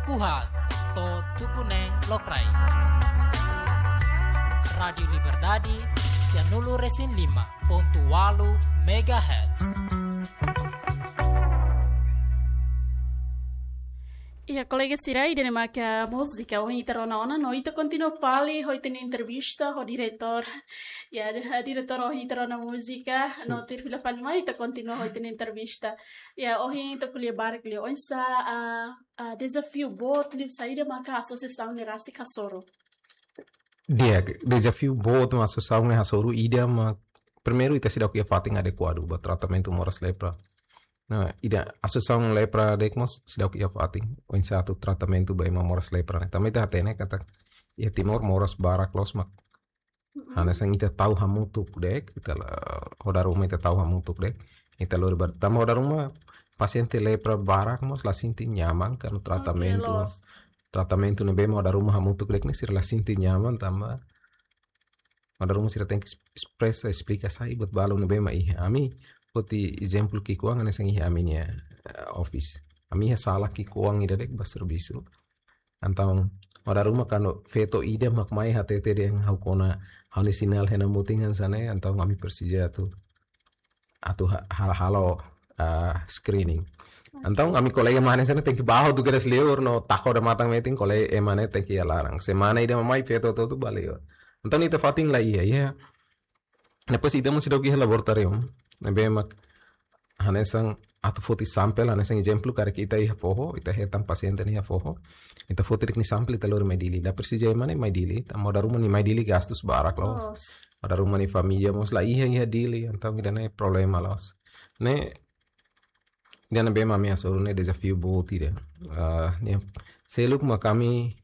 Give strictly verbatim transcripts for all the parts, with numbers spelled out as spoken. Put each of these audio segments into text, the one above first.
Kuhat, to'o tuku neen lokraik. Rádiu Liberdade, sianulu resin lima pontu ualu megahertz. Iha kolega sira, ida-ne'e maka múzika ohin ita rona ona, no ita kontinua fali ho ita-nia entrevista ho diretór. Ya, diretór, ohin ita rona múzika, no tuir fila fali mai ita kontinua ho ita-nia entrevista. Ya, ohin ita ko'alia barak liu oinsá, ah, ah, dezafiu boot liu saida maka asosiasaun ne'e rasik hasoru. Di'ak, dezafiu boot mak asosiasaun ne'e hasoru ida mak primeiru ita seidauk iha fatin adekuadu ba tratamentu moras lepra. Nah, ida asosiasaun lepra de'it mós seidauk iha fatin oinsá atu tratamentu ba ema moras lepra ne'e. Tanba ita hatene katak iha Timor moras barak loos mak hanesan ita tau hamutuk de'it, ita la, ho dala ruma ita tau hamutuk de'it. Ita lori ba, tanba ho dala ruma pasiente lepra barak mós la sente nyaman karena tratamentu. Oke, loos. Tratamentu ne'ebé mak ho dala ruma hamutuk de'it ne'e sira la sente nyaman tanba ho dala ruma sira tenke es-, espresa, esplika saida buat balu ne'ebé mak iha. Ami foti ezemplu ki'ikoan hanesan iha ami-nia, eh, office. Ami iha sala ki'ikoan ida de'it ba servisu. Entaun ho dala ruma kuandu feto ida mak mai hatete dehan ha'u kona, ha'u-nia sinál hena mutin hanesan ne'e, entaun ami presiza atu, atu ha-, ha-, halo, ah, screening. Entaun ami kolega mak hanesan ne'e tenke bá hotu kedas liur no taka odamatan metin, kolega ema ne'e tenke iha laran. Semana ida mak mai feto hotu-hotu bá liur. Entaun ita fatin la iha, iha. Depois ita mós seidauk iha laboratóriu ne'ebé mak hanesan atu foti sampel, hanesan ezemplu, karik ita iha foho, ita hetan pasiente nia iha foho. Ita foti de'it nia sampel, ita lori mai Dili. La presiza ema ne'e mai Dili, tanba ho dala ruma nia mai Dili gastus barak loos. Loos. Ho dala ruma nia família mós la iha, iha Dili, entaun ida-ne'e problema loos. Ne'e, ida ne'ebé mak ami hasoru ne'e dezafiu boot ida. Ah, ne'e, seluk mak ami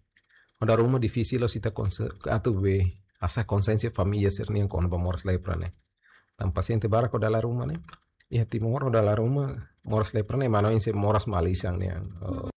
ho dala ruma difisil loos ita konse-, atu be, hasa'e konsiénsia família sira-nian kona-ba moras lepra ne'e. Tanba pasiente barak ho dala ruma ne'e. Iha Timor ho dala ruma moras lepra ne'e ema oinsá moras malisan ne'e. Oh,